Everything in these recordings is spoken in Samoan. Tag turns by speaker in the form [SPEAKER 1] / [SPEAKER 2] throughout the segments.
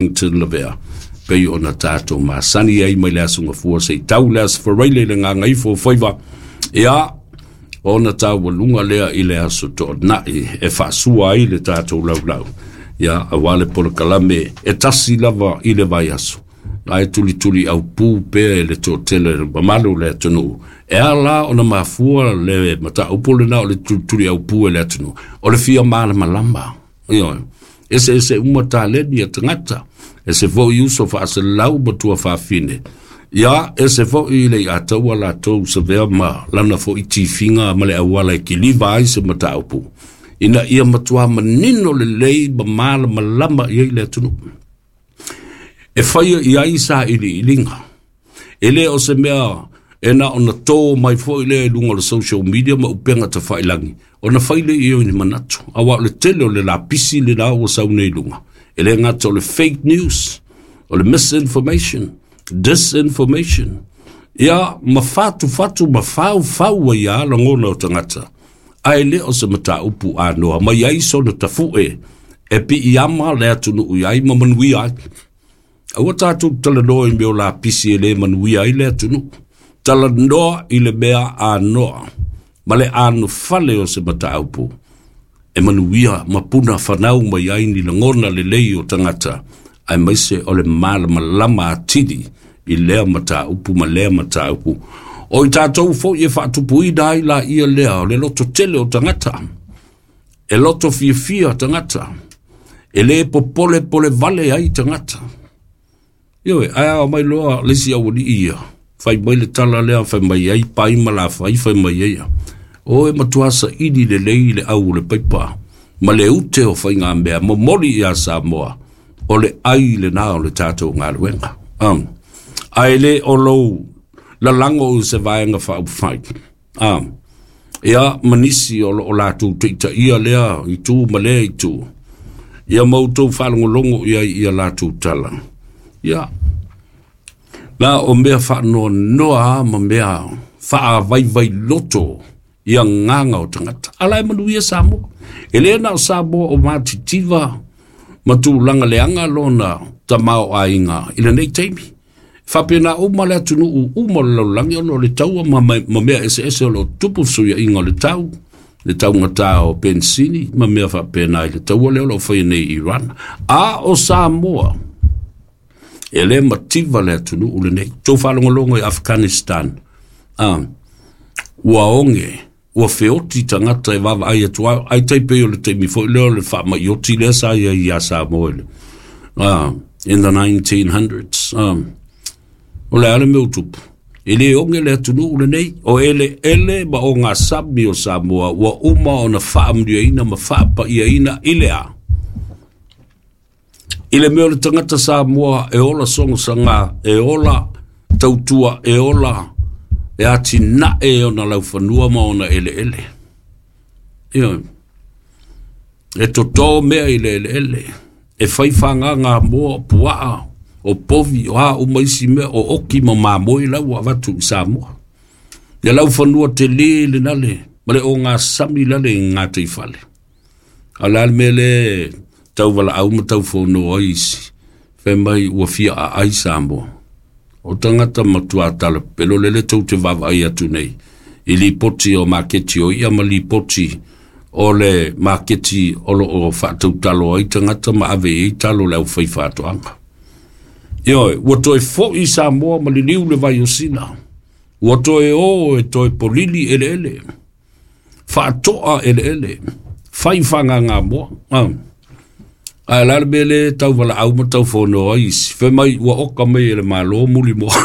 [SPEAKER 1] Wellington Lavea, pei ona tatou masani ai mai le aso Gafua seia tau le aso Faraile i le gagaifo o faiva, ia, ona taualuga lea i le aso Toonai e faasua ai le tatou laulau, ia, aua le polokalame e tasi lava i le vaiaso, ae tulituli aupū pea e le toatele o le mamalu o le atunuu. E ala ona mafua le mataupu lena o le tulituli aupū e le atunuu, o le fia malamalama. Ioe, eseese uma taleni a tagata, ese foi uso faasalalau ma tuafafine, ia, ese foi le iataua latou savea ma lana foi tifiga ma le auala e kiliva ai se mataupu, ina ia matua manino lelei ma malamalama i ai le atunuu. E faia i ai sailiiliga. E le o se mea e na ona tō mai foi lea i luga o le social media ma upega tafailagi, ona fai lea i ai o ni manatu. Aua o le tele o le lapisi lena ua sau nei i luga, e le gata o le fake news, o le misinformation, disinformation, ia ma fatufatu ma faufau ai lava lagona o tagata, ae le o se mataupu anoa mai ai sona tafu'e e piiama le atunuu i ai ma manuia ai. Aua tatou talanoa i mea o lapisi e le manuia ai le atunuu. Talanoa i le mea anoa ma le anofale o se mataupu e manuia ma puna fanau mai ai ni lagona lelei o tagata, aemaise o le malamalama atili i lea mataupu ma lea mataupu. O i tatou foi e faatupuina ai laia lea o le lototele o tagata, e loto fiafia tagata, e le popolepole vale ai tagata. Ioe, ae ao mai loa le isi aualii ia, fai mai le tala lea fai mai ai pai ma lafai fai mai ai ia. O e matua saili lelei le au o le paipa ma le ute o faigamea momoli iā Samoa, o le ai lena o le tatou galuega. Ae le o lou lalago i se vaega faaupufai. Ia, ma nisi o loo latou taitaia lea itu ma lea itu, ia ma outou faalogologo i ai ia latou tala. Ia, na o mea faanoanoa ma mea faavaivai loto i agaga o tagata. Ala e manuia Samoa. E le na o Samoa o matitiva ma tulaga leaga lona tamaoaiga i lenei taimi. Faapena uma le atunuu uma o le lalolagi ona o le taua ma mea eseese o lo o tutupu, fesuiaiga o le tau, le taugata o penisini ma mea faapena i le taua lea o lo o faia nei i Iran. A o Samoa, e le mativa le atunuu lenei. Tou faalogologo i Afghanistan, ua oge, ua feoti tagata e vaavaai atu ai tai pei o le taimi foi lea o le faamaioti lea sa i ai ia Samoa in the 1900s. O le a le mea ua tupu? E le oge le atunuu lenei, o eleele ma ogasami o Samoa ua uma ona faamanuiaina ma faapaiaina i le a? I le mea o le tagata Samoa e ola sogosaga, e ola tautua, e ola e atinae ona laufanua ma ona eleele. Ia, e totō mea i le eleele, e fai fagaga moa o puaa, o povi, o a uma isi mea, o oki ma mamoe la ua avatu i Samoa. Ia laufanua telē lena le, ma le ogasami lale i gataifale. A o le a le mea lea tauvalaau ma taufono ai isi, fai mai ua fia aai Samoa. O tagata matua talapelo lele tou te vaavaai atu nei i lipoti o maketi o i'a ma lipoti o le maketi o lo o faatautalo ai tagata ma ave i ai talo le aufai faatoaga. Ioe, ua toe foi Samoa ma liliu le vai o Sina. Ua toe o e toe polili eleele, faatoa eleele, fai fagagamoa. Ae la le mea lea tauvalaau ma taufono ai isi, fai mai ua oka mai e le Malo muli moa.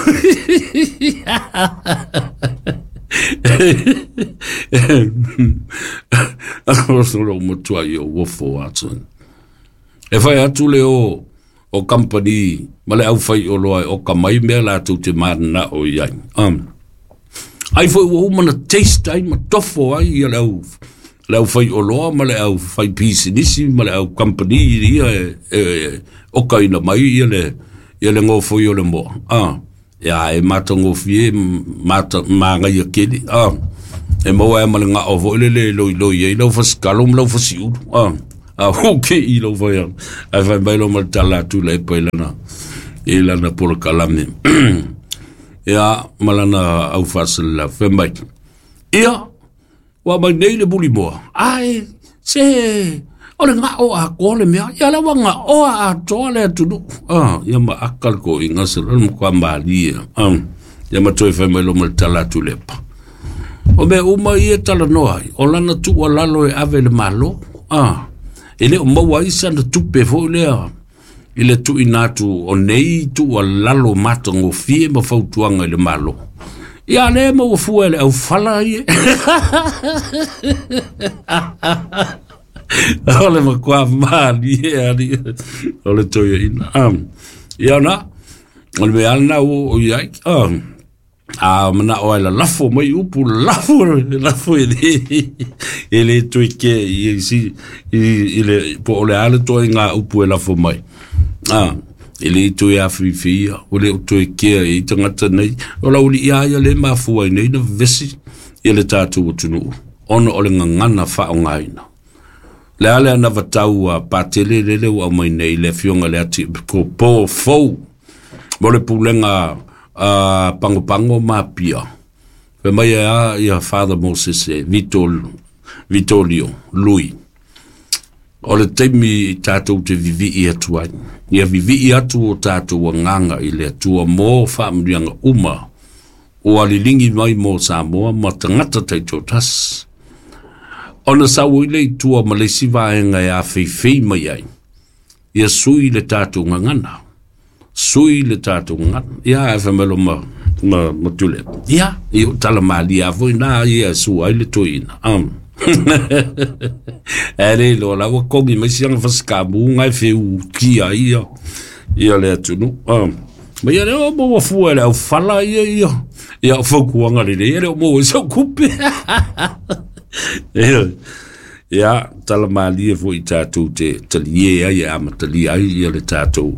[SPEAKER 1] O lou matua i o uofo atu. E fai atu le o company ma le aufai oloa e oka mai mea latou te mananao i ai. Ai foi ua uma na taste ai ma tofo ai ia le au faioloa ma le au fai pisinisi ma le au company ia e okaina mai ia le gofoi o le moa. Ia e matagofie magaia keli. E maua ai ma le gao foi lele e loiloi ai lau fasikalo ma lau fasiulu. A ua ke i lou fai atu. Ae fai mai loa ma le tala atu i Lepa i lana i lana polokalame. Ia, ma lana au faasalalau, fai mai, ia, ua mai nei le mulimoa, ae se o le gao atoa le mea. Ia la ua gaoa atoa le atunuu. Ah, ia ma aka le toeaina se le matua malie. Ah, ia ma toe fai mai loa ma le tala atu i Lepa. O mea uma ia e talanoa ai, o lana tuualalo e ave i le Malo. Ah, e le o maua ai sana tupe foi lea i le tuuina atu o nei tuualalo matagofie ma fautuaga i le Malo. Ia lea e maua fua e le aufala ia. O le matua malie ali o le toeaina. Ia na, o le mea lena ua oo i ai. A manao ai lalafo mai upu, lalafo, lalafo e le, e le toe kea i, i, i, i le, po o le a le toaiga upu e lafo mai. E le toe afifi ia, ua le o toe kea i tagata nei. O lau alii a ia le mafua ai nei na vevesi ia le tatou atunuu, ona o le gagana faaaogaina. Le a le anavatau a Patele lele ua aumai nei le afioga i le Atipopo fou mo le pulega a Pagopago ma Apia. Fai mai e a ia Father Moses e Vito, Vitolio Lui. O le taimi i tatou te vivii atu ai. Ia vivii atu o tatou agaga i le Atua mo faamanuiaga uma ua liligi mai mo Samoa ma tagata taitoatasi. Ona sau ai lea i tua ma le isi vaega e afeifei mai ai, ia sui le tatou gagana. Sui le tatou gagana. Ia, ae fai mai loa ma, ma, ma Tuilaepa. Ia, ia o tala malie lava foi na ia e sua ai le toeaina. Ae le iloa la ua kogi mai siana fasikamu nga e feukia ai ia, ia le atunuu. Ma ia le o maua fua e le aufala ia ia, ia o fautuaga lelei, e le o maua ai sau tupe. Ia, tala malie foi i tatou te talie ai e amatalia ai ia le tatou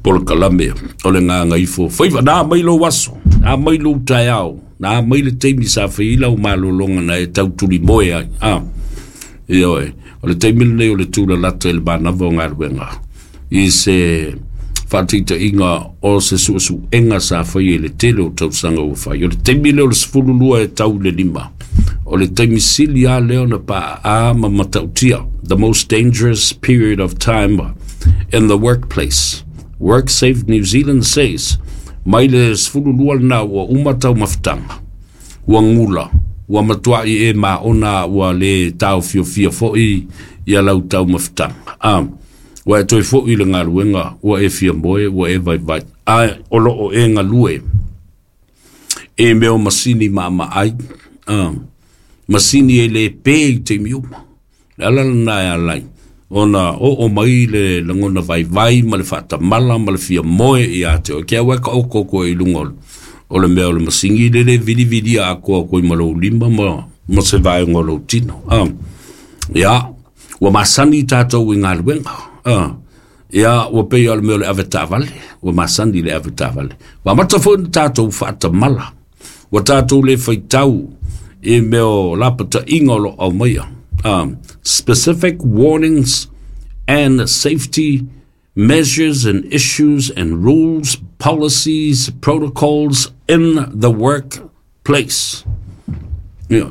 [SPEAKER 1] polokalame o le Gagaifo Faiva. Na mai lou aso, na mai lou taeao, na mai le taimi sa fai ai lau malologa na e tau tulimoe ai. Ah, ioe, o le taimi lenei o le tulalata i le manava o galuega i se faataitaiga o se suesuega sa faia i le tele o tausaga ua fai. O le taimi lea o le 12 e tau i le 5, o le taimi sili lava lea ona paaa ma matautia, the most dangerous period of time in the workplace. WorkSafe New Zealand says, mai le 12 lena ua uma taumafataga, ua gula, ua matuai e maona ua le taofiofia foi ia lau taumafataga. Ua e toe foi i le galuega, ua e fia moe, ua e vaivai, ae o lo o e galue i mea o masini maamaai, masini e le pe i taimi uma. Le ala lena e ala ai ona oo mai le lagona vaivai ma le faatamala ma le fia moe ia te oe. Ke aua e taoto atu ai i luga o le mea o le masini lele e vilivilia atoa atu ai ma lou lima ma, ma se vaega o lou tino. Ia, ua masani tatou i galuega. Ia, ua pei lava o le mea o le avetaavale, ua masani i le avetaavale. Ua amata foi ona tatou faatamala. Ua tatou le faitau i mea o lapataiga o lo o aumaia. Specific warnings and safety measures and issues and rules, policies, protocols in the workplace. Ia.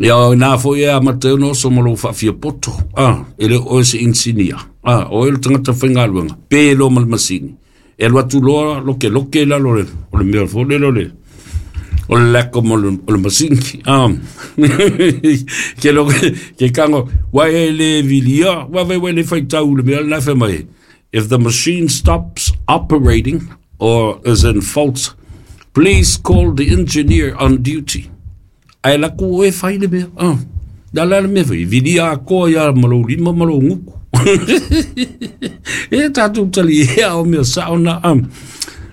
[SPEAKER 1] Ia, o ina foi e amata ai ona oso ma lou faafiapoto. Ah, e le o oe se inisinia. Ah, o oe le tagata faigaluega, pe loa ma le masini. E alu atu loa lokeloke i lalo o le mea foi lele o le o le lako mo le, o le masini. Ke lo ke kango wa e le vilia, wa vai le faitau le mea lena fai mai. If the machine stops operating or is in fault, please call the engineer on duty. Ae laku oe fai le mea. Na la le mea foi, vilia atoa ia ma lou lima ma lou gutu. E tatou taliea o mea sao na.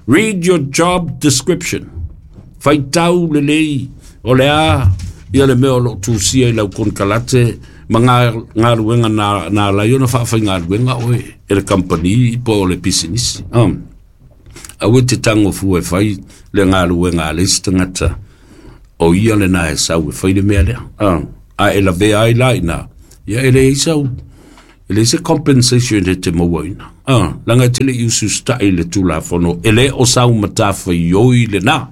[SPEAKER 1] Read your job description. Faitau lelei o le a ia le mea o lo o tusia i lau konekarate ma ngā galuega na, na ala ai ona faafaigaluega oe e le kamupani po o le pisinisi. Aua e te tango fua e fai le galuega a le isi tagata o ia lena e sau e fai le mea lea. A e lavea ai la i ina, Ia e leai sau, e leai se compensation e te mauaina. Leaga e te le i usiusitai i le Tulafono, e le o sau matafaioi lena.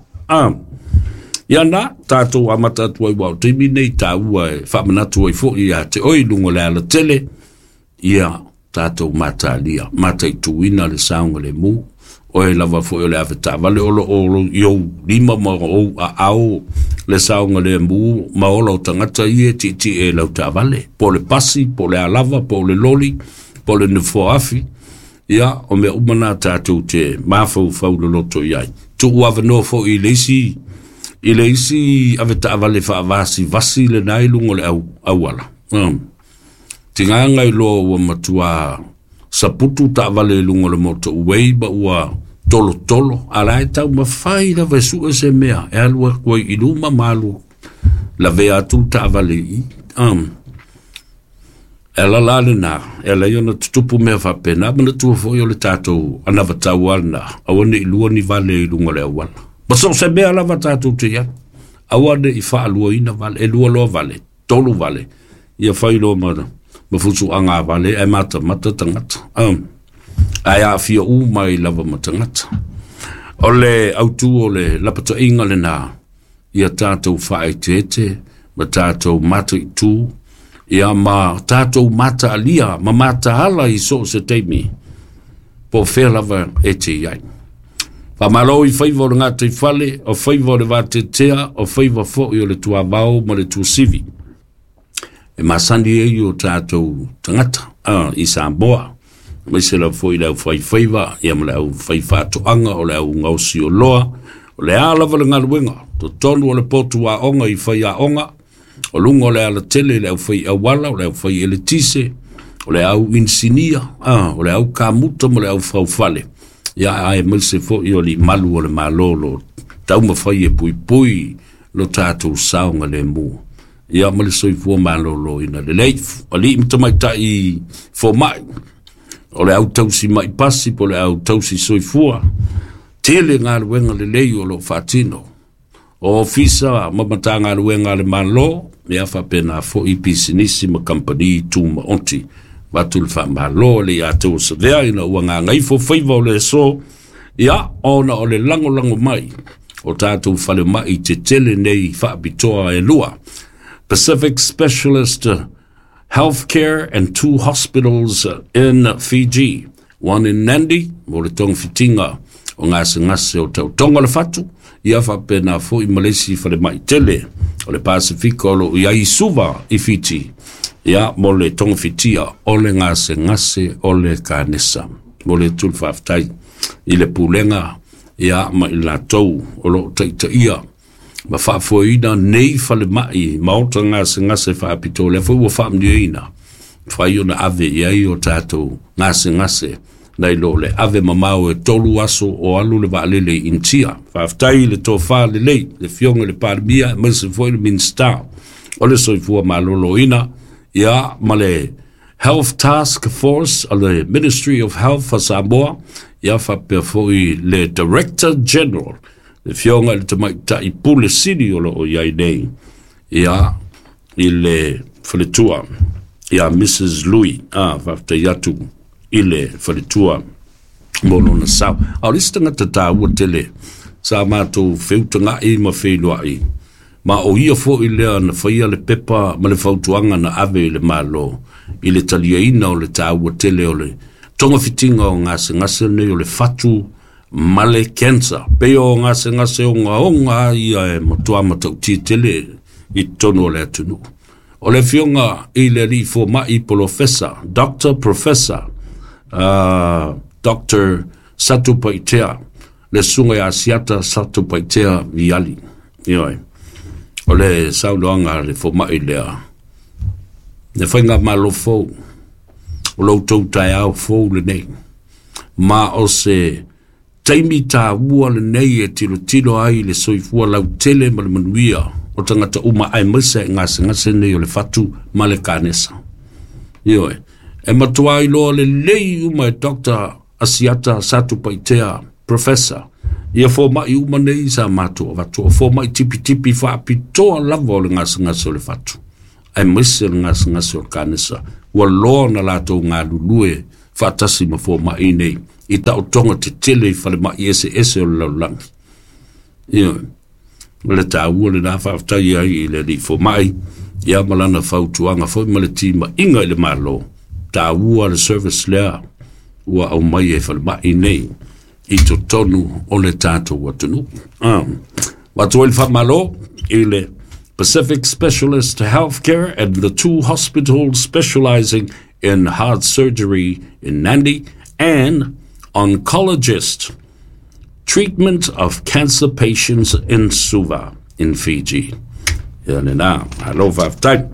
[SPEAKER 1] Ia na, tatou amata atu ai aua o taimi nei taua e faamanatu ai foi ia te oe i luga o le alatele, ia tatou matalia, mataituina le saogalemu. Oe lava foi o le avetaavale o lo o i ou lima ma ou aao le saogalemu ma ola o tagata ia e tietie i lau taavale, po o le pasi, po o le alava, po o le loli, po o le nofoafi. Ia, o mea uma na tatou te mafaufau loloto i ai. Tuu avanoa foi i le isi avetaavale faavasivasi lena i luga o le auala. Tigaga i loa ua matua saputu taavale i luga o le motorway ma ua tolotolo, a la e taumafai lava e sue se mea e alu atu ai i luma ma alu lavea atu le taavale i i. E ala la lena, e ala ai ona tutupu mea faapena, manatua foi o le tatou anavatau lava lena, aua ne i lua ni vale i luga o le auala. Ma so o se mea lava tatou te i ai, aua ne i faaluaina vale, e lua loa vale, tolu vale, ia fai loa ma fusuaga a vale ae matamata tagata. Ae aafia uma ai lava ma tagata. O le autu o le lapataiga lena, ia tatou faaeteete ma tatou mataitu, ia ma tatou mataalia ma mataala i so o se taimi, po o fea lava e te i ai. Faamalo i faiva o le gataifale, o faiva o le vateatea, o faiva foi o le tuavao ma le tuasivi. E masani ai o tatou tagata i Samoa, aemaise lava foi le aufaifaiva, ia ma le aufaifaatoaga, o le augaosi oloa, o le a lava le galuega, totonu o le potu aoga i faiaoga, o luga o le alatele i le aufai auala, o le aufai eletise, o le au inisinia, o le au kamuta ma le au faufale, ia aemaise foi o limalu o le Malo lo taumafai e puipui lo tatou saogalemu. Ia ma le soifua maloloina lelei. Alii ma tamaitai fomai, o le au tausi mai pasi po o le au tausi soifua, tele galuega lelei o lo o faatino. O ofisa ma matagaluega a le Malo, ia faapena foi pisinisi ma kamupani tumaoti. Avatu le faamalo le ia te osavea ina ua gagaifo faiva o le aso, ia ona o le lagolago mai o tatou falemai tetele nei faapitoa e lua. Pacific Specialist Healthcare and two hospitals in Fiji, one in Nandi, mo le togafitiga o gasegase o tautoga o le fatu, ia faapena foi ma le isi falemai tele o le Pasifika o lo o i ai i Suva i Fiti, ia mo le togafitia o le gasegase o le kanesa. Mo le atu le faafetai i le pulega ia ma i latou o lo o taitaia ma faafoeina nei falemai maota gasegase faapitoa, lea foi ua faamanuiaina fai ona ave i ai o tatou gasegase nai lo le ave mamao e 3 aso o alu le vaalele i Initia. Faafetai i le tofa lelei, le Afioga i le Palemia aemaise foi le Minisita o le Soifua Maloloina, ia ma le Health Task Force a le Ministry of Health a Samoa, ia faapea foi le Director General, le Afioga i le Tamaitai Pule Sili o lo o i ai nei, ia i le faletua, ia Mrs. Louis, faafetai atu i le faletua mo lona sao. A o le isi tagata taua tele sa matou feutagai ma feiloai, ma o ia foi lea na faia le pepa ma le fautuaga na ave i le Malo i le taliaina o le taua tele o le togafitiga o gasegase nei o le fatu ma le cancer. Pei o gasegase ogaoga ia e matua matautia tele i totonu o le atunuu. O le Afioga i le Alii Fomai Polofesa, Dr. Professor Dr. Satupaitea, le susuga ia Asiata Satupaitea Viali. Ioe. O le saunoaga a le fomai lea, le faigamalo fou, o lo outou taeao fou lenei, ma o se taimi taua lenei e tilotilo ai le soifua lautele ma le manuia o tagata uma aemaise i gasegase nei o le fatu ma le kanesa. Ioe, e matua iloa lelei uma e Dr. Asiata Satupaitea Professor, ia fomai uma nei sa matou avatu, o fomai tipitipi faapitoa lava o le gasegase o le fatu. Aemaise le gasegase o le kanesa, ua loa ona latou galulue faatasi ma fomaʻi nei i taotoga tetele i falemaʻi eseese o le lalolagi. Ioe, o le taua lenā faafetai ai i le alii fomaʻi ia ma lana fautuaga foi ma le timaiga i le Malo, taua le service lea ua aumai e falemaʻi nei i totonu o le tatou atunuu. Avatu ai le faamalo i le Pacific Specialist Healthcare and the two hospitals specializing in heart surgery in Nadi and oncologist treatment of cancer patients in Suva in Fiji. Ia lena, malo faafetai.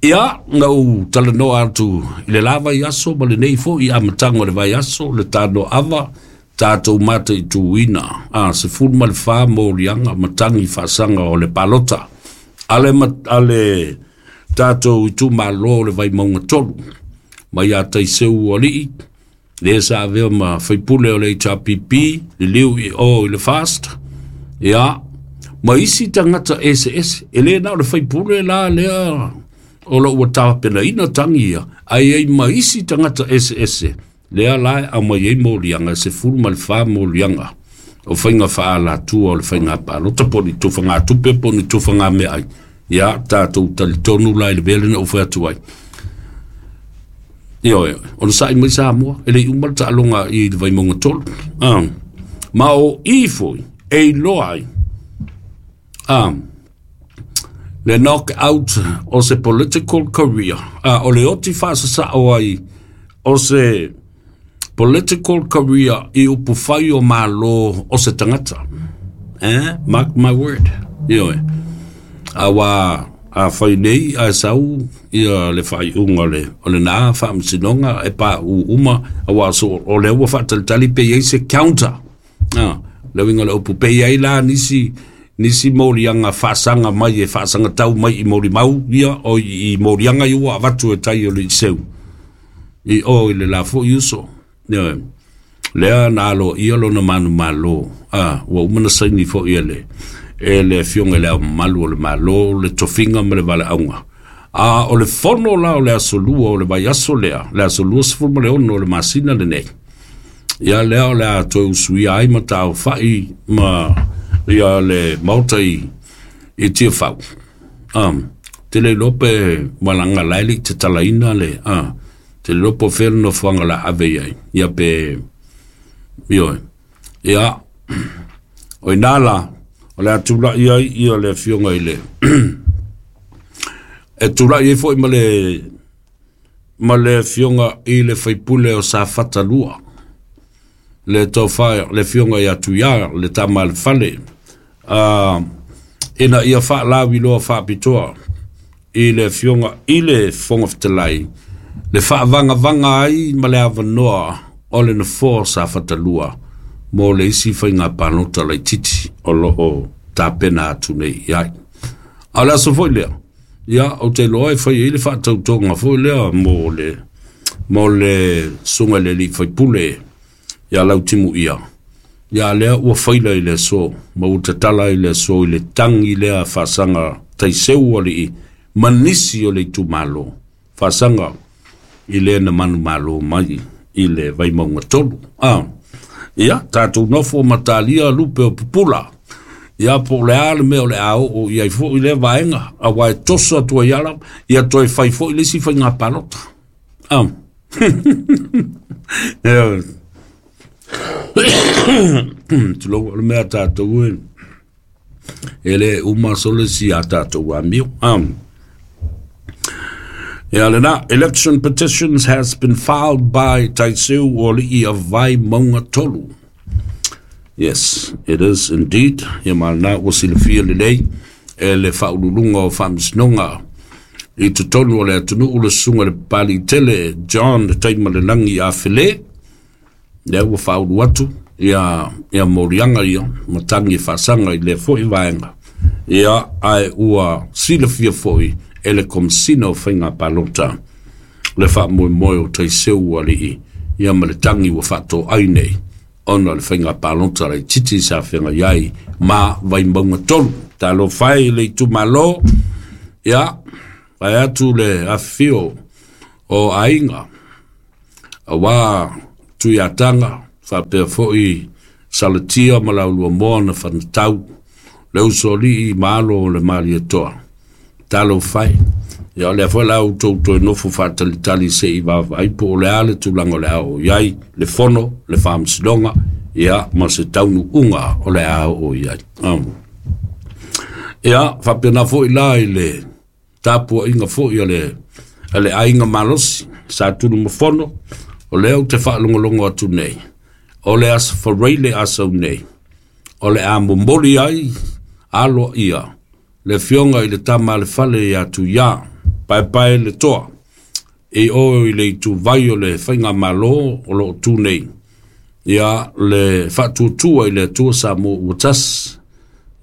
[SPEAKER 1] Ia, na ou talanoa atu i le la vaiaso ma lenei foi amataga o le vaiaso, le tanoava, tatou mataituina, a 14 moliaga matagi faasaga o le palota ale, ale tatou itumalo o le Vaimauga 3, mai ia Taiseu Alii, le sa avea ma faipule o le HRPP, liliu i o i le FAST, ia, ma isi tagata eseese, e le na o le faipule la lea o lo ua tapenaina tagi ia, ae ai ma isi tagata eseese, lea la e aumai ai moliaga, e 14 moliaga o faiga faaalatua o le faiga palota po o ni tufagatupe po o ni tufagameaai. Ia, tatou talitonu la i le mea lena ua fai atu ai. Ioe, ona sa'i mai Samoa, e le i uma le taaloga i le Vaimauga 3. Ah, ma o i foi e iloa ai le knock out o se political career, o le oti faasasao ai o se political career i upufai o Malo o se tagata. Eh? Mark my word. Ioe. Aua a fai nei ae sau ia le faaiuga o le o lena faamasinoga e paʻū uma, aua so o lea ua faatalitali pe i ai se counter. Ah, le uiga o le upu pe i ai la nisi nisi moliaga faasaga mai e faasagatau mai i molimau ia o i moliaga ia ua avatu e tai o le Iseu i o i le la foi uso. Ioe. Lea na aloaia lona manumalo, a ua uma na saini foi e le e le afioga i le Ao Mamalu o le Malo le tofiga ma le valaauga. A o le fono la o le aso lua o le vaiaso lea, le aso 26 o le masina lenei, ia lea o le a toe usuia ai ma taaofai ma ia le Maota i i Tiafau. Te le iloa pe malaga la e le i tatalaina le, te le iloa po o fea le nofoaga o le a ave i ai, ia pe, ioe. Ia, o ina la, o le a tulai ai ia le afioga i le, e tulai ai foi ma le, ma le afioga i le faipule o Safata 2, le tofa, le afioga ia Tuia, le tama a le fale, ina ia faalauiloa faapitoa i le afioga i le Fofoga Fetalai, le faavagavaga ai ma le avanoa o le nofoa o Safata 2 mo le isi faiga palota laitiiti o lo o tapena atu nei i ai. A o le aso foi lea, ia, ou te iloa e fai ai le faatautoga foi lea mo le mo le susuga i le alii faipule ia Lautimuia, ia lea ua faila i le aso, ma ua tatala i le aso i le tagi lea faasaga taiseu alii ma nisi o le itumalo faasaga i le na manumalo mai i le Vaimauga 3. Ia, tatou nofo ma talia lupe o pupula. Ia, po o le a le mea o le a oo i ai foi lea vaega, aua e toso atu ai ala, ia toe fai foi le isi faiga palota. Ia, tulou, o le mea a tatou e, e le uma sole si a tatou amio. Ia lena, election petitions has been filed by Taiseu Oli'i of Vaimauga 3. Yes, it is indeed. Ia ma lena ua silafia lelei e le faauluuluga o faamasinoga i totonu o le atunuu le susuga i le Papalii tele John Taimalelagi Afele, lea ua faaulu atu ia ia moliaga ia ma tagi e faasaga i lea foi vaega. Ia, ae ua silafia foi e le Komesina o Faiga Palota le faamoemoe o Taiseu Alii ia ma le tagi ua faatoai nei ona o le faiga palota laitiiti sa feagai ai ma Vaimauga 3. Talofa e i le itumalo, ia, Vaeatu le afifio o aiga, auā Tuiataga, faapea foi Salatia ma Lauluamoa na fanatau, le usoalii ma alo o le Malietoa. Talofa e. Ia o lea foi la outou toe nofo faatalitali se i vaavaai po o le a le tulaga o le a oo i ai le fono, le faamasinoga, ia ma se taunuuga o le a oo i ai. Ia, faapena foi la i le tapuaiga foi a le, a le aiga malosi, Sa Tunumafono, o lea ou te faalogologo atu nei, o le Aso Faraile Asau nei, o le a momoli ai aloaia le afioga i le Tama a le Fale ia Tuiā, Paepae le Toa, i o i le ituvai o le Faigamalo o lo o tu nei, ia le faatuatua i le Atua Samoa ua tasi.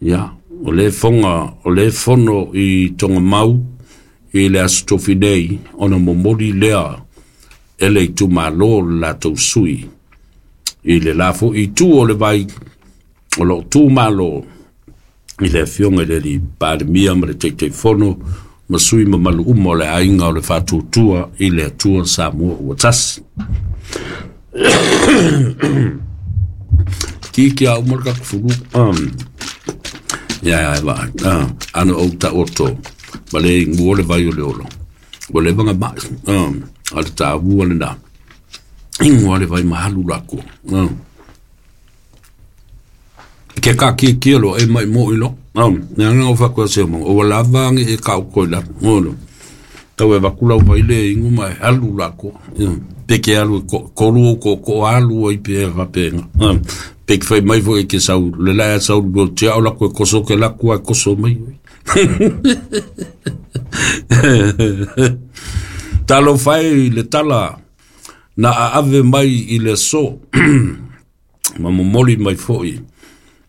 [SPEAKER 1] Ia, o le foga, o le fono i Togamau i le Aso Tofi nei, ona momoli lea e le itumalo le latou sui i le la foi itu o le vai o lo o tu malo i le afioga i le alii Palemia ma le Taitaifono ma sui mamalu uma o le aiga o le Faatuatua i le Atua Samoa ua tasi. Ki ki a uma le tatou fulu. Ia ia va. Ana ou taoto ma le ingu o le vai o le olo. Ua leva na mai. A le tāua lena. Ingu a le vai mahalu la ko. Ke ka ki ki lo e mai mo ilo. Ne anga o fa se mo. O la va ngi e ka ko la. Ngolo. Tau e vakula o vai le ingu mai alu la ko. Pe ke alu ko ko ko ko alu ai pe va pe. Pe ke fai mai fo e ke sau le la sau lo te au la ko ko so ke la ko ko so mai. Talofa e i le tala na aave mai i le aso ma momoli mai foi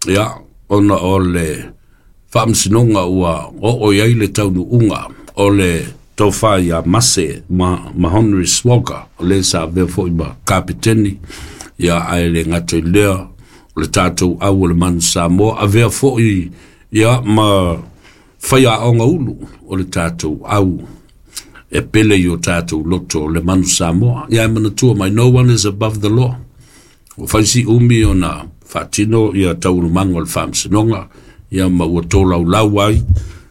[SPEAKER 1] ia ona o le faamasinoga ua oo i ai le taunuuga o le tofa ia Mase ma, ma Henry Swagger o le sa avea foi ma kapeteni ia ae le gata i lea o le tatou au o le Manu Samoa avea foi ia ma faiaoga ulu o le tatou au e pele i o tatou loto o le Manu Samoa. Ia e manatua mai, no one is above the law. Ua fai si umi ona faatino ia taualumaga o le faamasinoga, ia ma ua tolaulau ai,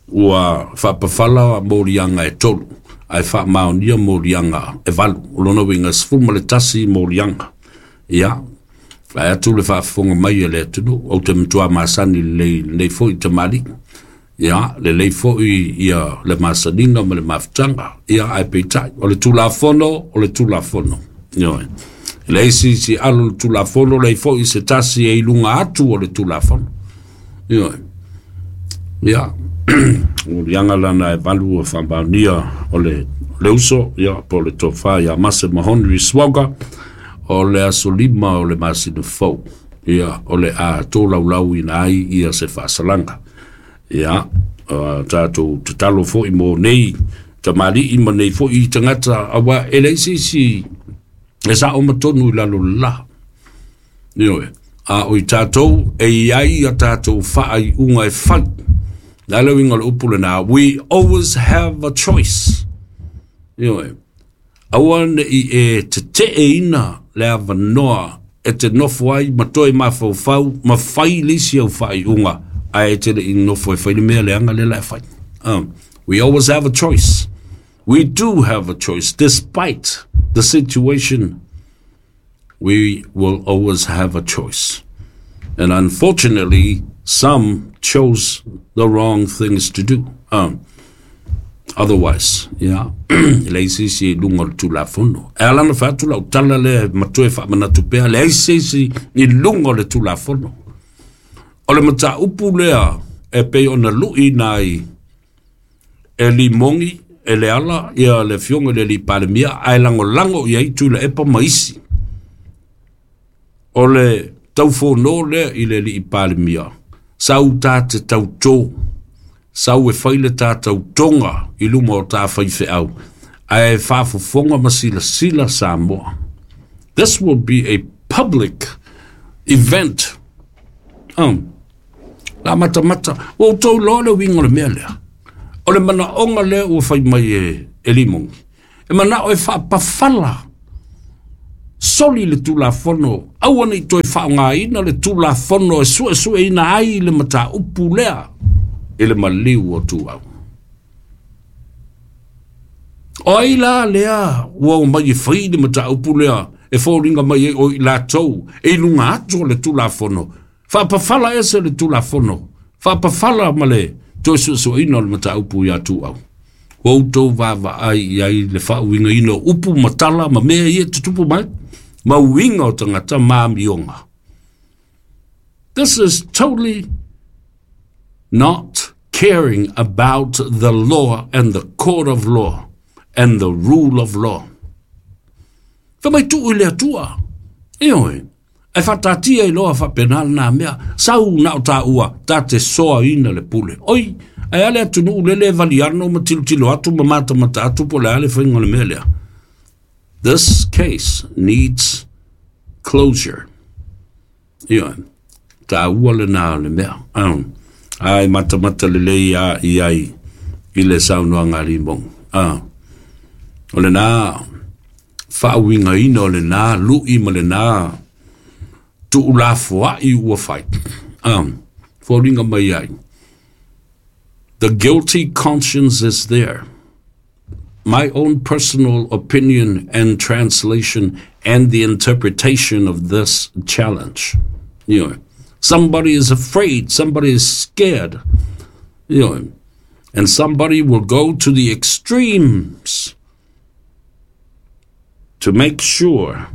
[SPEAKER 1] ua faapafala moliaga e tolu, ae faamaonia moliaga e valu. O lona uiga e 11 moliaga. Ia, vae atu le faafofoga mai a le atunuu, ou te matua masani lelei i lenei foi tamalii. Ia, lelei foi ia le masaniga ma le mafutaga. Ia, ae peitai, o le Tulafono, o le Tulafono. Ioe. E leai se isi e alo i le Tulafono, leai foi se tasi e i luga atu o le Tulafono. Ioe. Ia, o liaga lana e valu o faamaonia o le, le uso, ia, po o le tofa ia Mase Mahonri Swagger, o le aso 5 o le masina fou, ia, o le a tolaulauina ai ia se faasalaga. Ia, tatou tatalo foi mo nei tamalii ma nei foi tagata, aua e leai se isi e sao ma tonu i lalo o le la. Ioe, a o i tatou e i ai a tatou faaiuga e fai. Le a le uiga o le upu lena, we always have a choice. Ioe, aua ne i e teteeina le avanoa e te nofo ai ma toe mafaufau ma fai le isi au faaiuga ae e te le i nofo e fai le mea leaga lea la e fai. We always have a choice. We do have a choice despite the situation. We will always have a choice. And unfortunately, some chose the wrong things to do. Otherwise, yeah, e leai se isi i luga o le Tulafono. E ala ona fai atu lau tala lea ma toe faamanatu pea, leai se isi i luga o le Tulafono. O le mataupu lea e pei ona luʻiina ai e Limogi, e Leala, ia le afioga i le alii Palemia, ae lagolago i ai Tuilaepa ma isi. O le taufono lea i le alii Palemia, sau ta te tautō, sau e fai le ta tautoga i luma o ta faifeau, ae faafofoga ma silasila Samoa. This will be a public event. La matamata, ua outou iloa le uiga o le mea lea. O le manaoga lea ua fai mai e Limogi, e manao e faapafala soli le Tulafono, aua nei toe faaaogaina le Tulafono e suesueina ai le mataupu lea i le maliu o Tuau. O ai la lea ua omai e fai le mataupu lea e foliga mai ai o i latou e i luga atu o le Tulafono, faapafala ese le Tulafono, faapafala ma le toe suesueina o le mataupu ia Tuau. Ua outou vaavaai i ai le faauigaina o upu ma tala ma mea ia e tutupu mai, ma uiga o tagata ma amioga. This is totally not caring about the law and the court of law and the rule of law. Fai mai tuu i le Atua. Ioe, ae faataatia i loa faapena lena mea. Sau na o taua, ta te soaina le pule. Oi, ae a le atunuu lele e valiano ma tilotilo atu ma matamata atu po o le a le faiga o le mea lea. This case needs closure. Ioe, taua lena o le mea. Ai matamata lelei a i ai i le saunoaga a Limogi. O lena faauigaina o lena lui ma lena tuulafoai ua fai. Foliga mai ai. The guilty conscience is there. My own personal opinion and translation and the interpretation of this challenge. Somebody is afraid, somebody is scared, and somebody will go to the extremes to make sure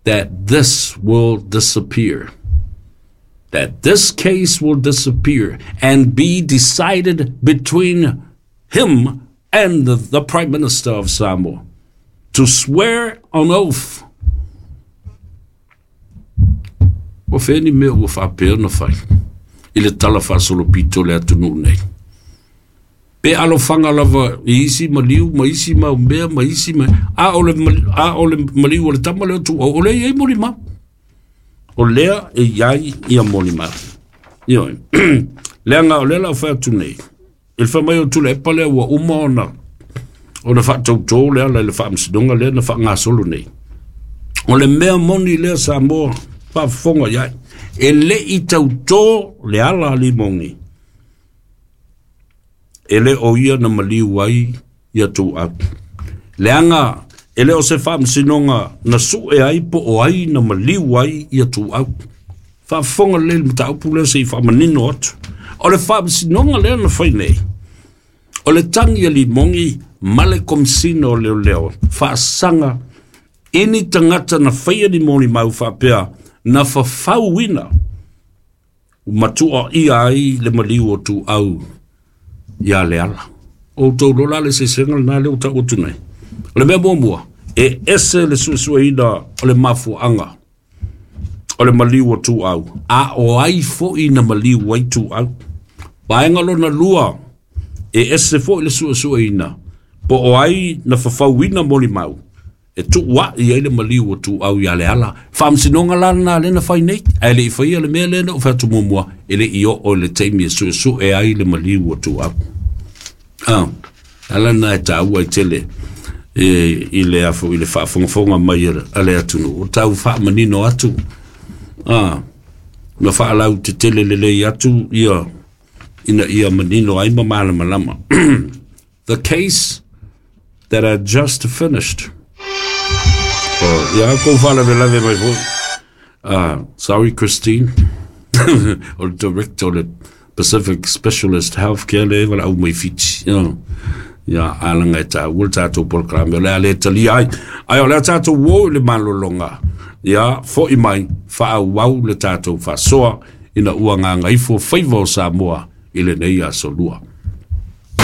[SPEAKER 1] that this will disappear, that this case will disappear and be decided between him and the Prime Minister of Samoa to swear on oath. Ua fea ni mea ua faapea ona fai i le tala faasolopito o le atunuu nei. Pe alofaga lava i isi maliu ma isi mau mea ma isi ma a o le a o le maliu o le tama lea o Tuuau, o lea e i ai molimau. O lea e i ai ia molimau. Ioe. Leaga o lea la o fai atu nei, i le fai mai o Tuilaepa lea ua uma ona faatautō le ala i le faamasinoga lea na faagasolo nei. O le mea moni lea Samoa faafofoga i ai, e le i tautō le ala a Limogi, e le o ia na maliu ai ia Tuuau. Leaga e le o se faamasinoga na sue ai po o ai na maliu ai ia Tuuau. Faafofoga lelei i le mataupu lea se i faamanino atu. O le faamasinoga lea na fai nei, o le tagi a Limogi ma le Komisina o Leoleo faasaga i ni tagata na faia ni molimau faapea na fafauina ma tuuaia ai le maliu o Tuuau ia Leala. O outou iloa la le eseesega lena lea ua tau atu nei. O le mea muamua, e ese le suesueina o le mafuaaga o le maliu o Tuuau, a o ai foi na maliu ai Tuuau. Vaega lona lua, e ese foi le suesueina po o ai na fafauina molimau e tuuai ai le maliu o Tuuau ia Leala. Faamasinoga la lena lea na fai nei, ae le i faia le mea lea na ou fai atu muamua, e le i oo i le taimi e suesue ai le maliu o Tuuau. Ala lena e taua ai tele e, i le afo i le faafogafoga mai a le atunuu. O tau faamanino atu, ma faalautetele lelei atu ia ina ia manino ai ma malamalama. The case that I just finished. Oh, ia kou faalavelave mai foi. Sorry, Christine. O le director o le Pacific Specialist Healthcare le valaau mai Fiti. Ia, alaga e taua le tatou polokalame, o le a le talia ai. Ae o le a tatou o i le malologa. Ia, foi mai, faaauau le tatou faasoa ina ua gagaifo faiva o Samoa i lenei aso lua.